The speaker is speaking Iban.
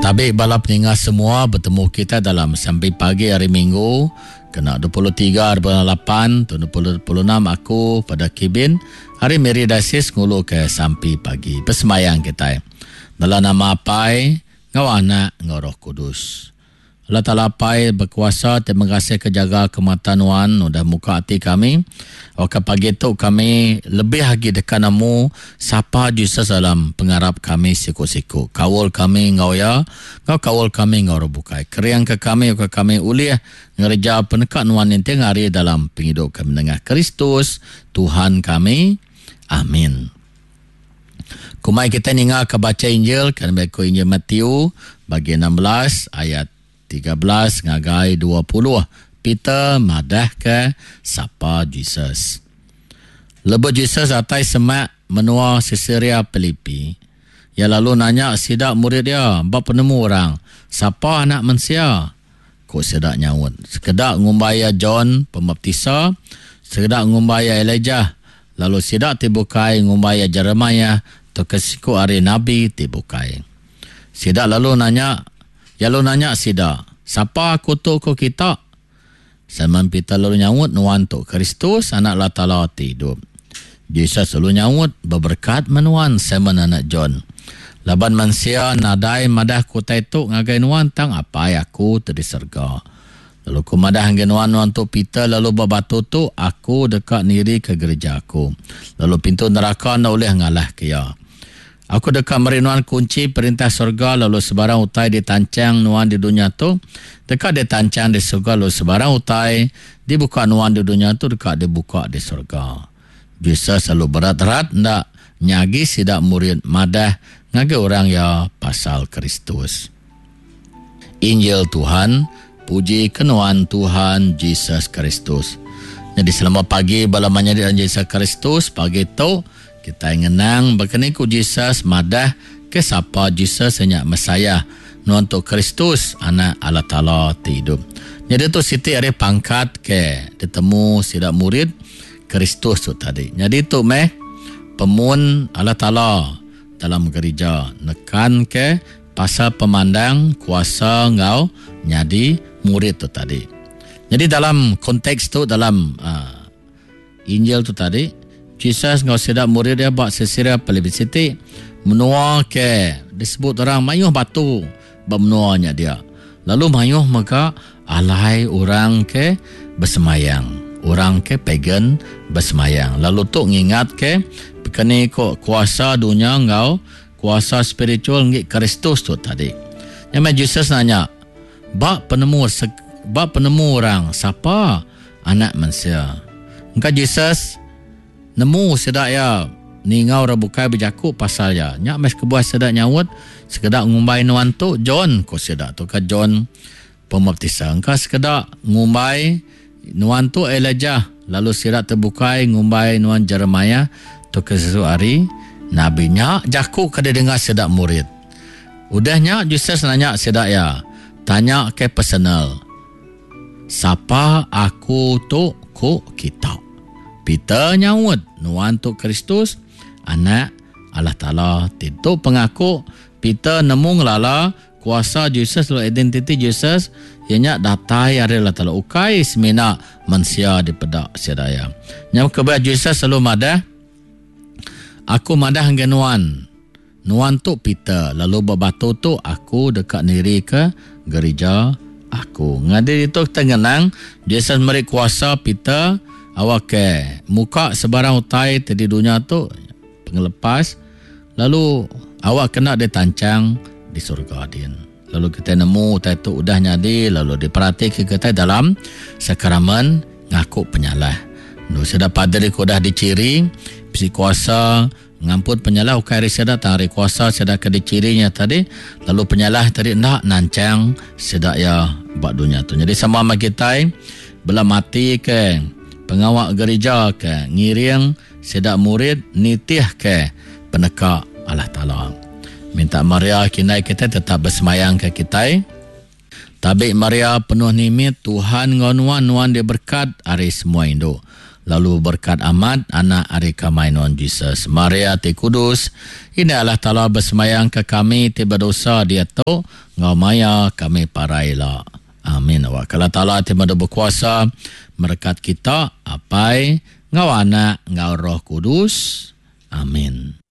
Tabi bala peninga semua betemu kita dalam sampi pagi hari Minggu kena 23 hari bulan 8 tahun 2026 aku pada Kibin hari Miri Diocese ngulu ke sampi pagi besemayang kita. Dalam nama Apai, ngau Anak, ngau Roh Kudus. Allah Taala Apai bekuasa terima kasih ke jaga ke mata nuan udah muka ati kami. Awakka pagi tu kami lebih agi deka nemu sapa Jesus dalam pengarap kami siku-siku. Kaul kami enggau iya, enggau kaul kami enggau orang bukai. Keringka kami awakka kami ulih ngereja peneka nuan ninting hari dalam pengidup kami nengah Kristus Tuhan kami. Amin. Kumai kitai ninga ke bacha Injil ke nembiak ku Injil Matthew bagi 16 ayat 13 ngagai 20. Peter madahka sapa Jesus. Lebuh Jesus datai semak menua Siseria Pilipi, iya lalu nanya sida murid iya ba penemu orang, Sapa Anak Mensia? Ku sida nyaut, Sekeda ngumbai iya John Pemaptisa, sekeda ngumbai iya Elijah, lalu sida ti bukai ngumbai iya Jeremiah tauka siku ari nabi ti bukai. Sida lalu nanya, iya lalu nanya sida, Sapa aku tu ku kita? Simon Peter lalu nyaut, Nuan tu Kristus, Anak Allah Taala ti idup. Jesus lalu nyaut, Beberekat meh nuan, Simon anak John. Laban mensia nadai madahka utai tu ngagai nuan tang Apai aku ti di serega. Lalu ku madah ngagai nuan, nuan tu Peter lalu ba batu tu aku deka nirika gerija aku, lalu pintu neraka enda ulih ngalahka iya. Aku deka meri nuan kunchi Perintah serega lalu sebarang utai ditanchang nuan di dunya tu deka ditanchang di serega lalu sebarang utai dibuka nuan di dunya tu deka dibuka di serega. Jesus lalu berat-rat enda nyagi sida murid madah ngagai orang iya pasal Kristus. Injil Tuhan, puji ke nuan Tuhan Jesus Kristus. Nyadi selamat pagi bala menyadi dalam Jesus Kristus. Pagi tu kitai ngenang bakani ku Jesus madah ke sapa Jesus nya Mesiah nuan tu Kristus anak Allah Taala ti idup. Nyadi tu siti ari pangkat ke ditemu sida murid Kristus tu tadi. Nyadi tu meh pemun Allah Taala dalam gerija nekan ke pasal pemandang kuasa enggau nyadi murid tu tadi. Nyadi dalam konteks tu dalam uh, Injil tu tadi, Jesus enggau sida murid dia ba Caesarea Philippi siti menua ke disebut orang mayuh batu ba menua nya dia. Lalu mayuh mega alai orang ke besemayang, orang ke pagan besemayang. Lalu tu ngingat ke bekeni ko kuasa dunya enggau kuasa spiritual enggi Kristus tu tadi. Nya meh Jesus nanya, ba penemu ba penemu orang sapa Anak Mensia? Engka Jesus nemu sida iya ninga orang bukai bejaku pasal iya. Nya meh kebuah sida nyaut, sekeda ngumbai nuan tu John, ku sida tu ka John Pemaptisa. Engka sekeda ngumbai nuan tu Elijah, lalu sida ti bukai ngumbai nuan Jeremiah tauka sesiku ari nabi. Nya jaku ke didengar sida murid. Udah nya Jesus nanya sida iya, tanya ke personal, Sapa aku tu ku kita? Peter nyaut, Nuan tu Kristus, Anak Allah Taala. Ti tu pengaku Peter nemu ngelala kuasa Jesus lalu identiti Jesus iya nya datai ari Allah Taala ukai semina mensia dipeda sida iya. Nya kebuah Jesus selalu madah, Aku madah ngagai nuan, nuan tu Peter lalu ba batu tu aku deka nirika gerija aku. Ngadi ditu kita ngenang Jesus meri kuasa Peter awakka muka sebarang utai ti di dunya tu pengelepas Lalu awak kena ditanchang di surga din. Lalu kitai nemu utai tu udah nyadi lalu diperatika kitai dalam sakramen ngaku penyalah. Endu sida paderi ke udah dichiri bisi kuasa ngampun penyalah ukai ari sida tang ari kuasa sida ke dichiri nya tadi lalu penyalah tadi enda nanchang sida iya ba dunya tu. Nyadi sama meh kitai bela mati ke pengawa gerija ke ngiring Sida murid nitihka peneka Allah Taala. Minta Maria kindai kitai tetap besemayangka kitai. Tabi Maria penuh nimit, Tuhan enggau nuan, nuan diberkat ari semua indu. lalu beberkat amat anak ari kamai nuan Jesus. Maria ti kudus, Indai Allah Taala besembayang ke kami ti bedosa diatu enggau maya kami parai ila. Amin. Awakka Allah Taala ti madu bekuasa merekat kita, Apai, enggau Anak, enggau Roh Kudus. Amin.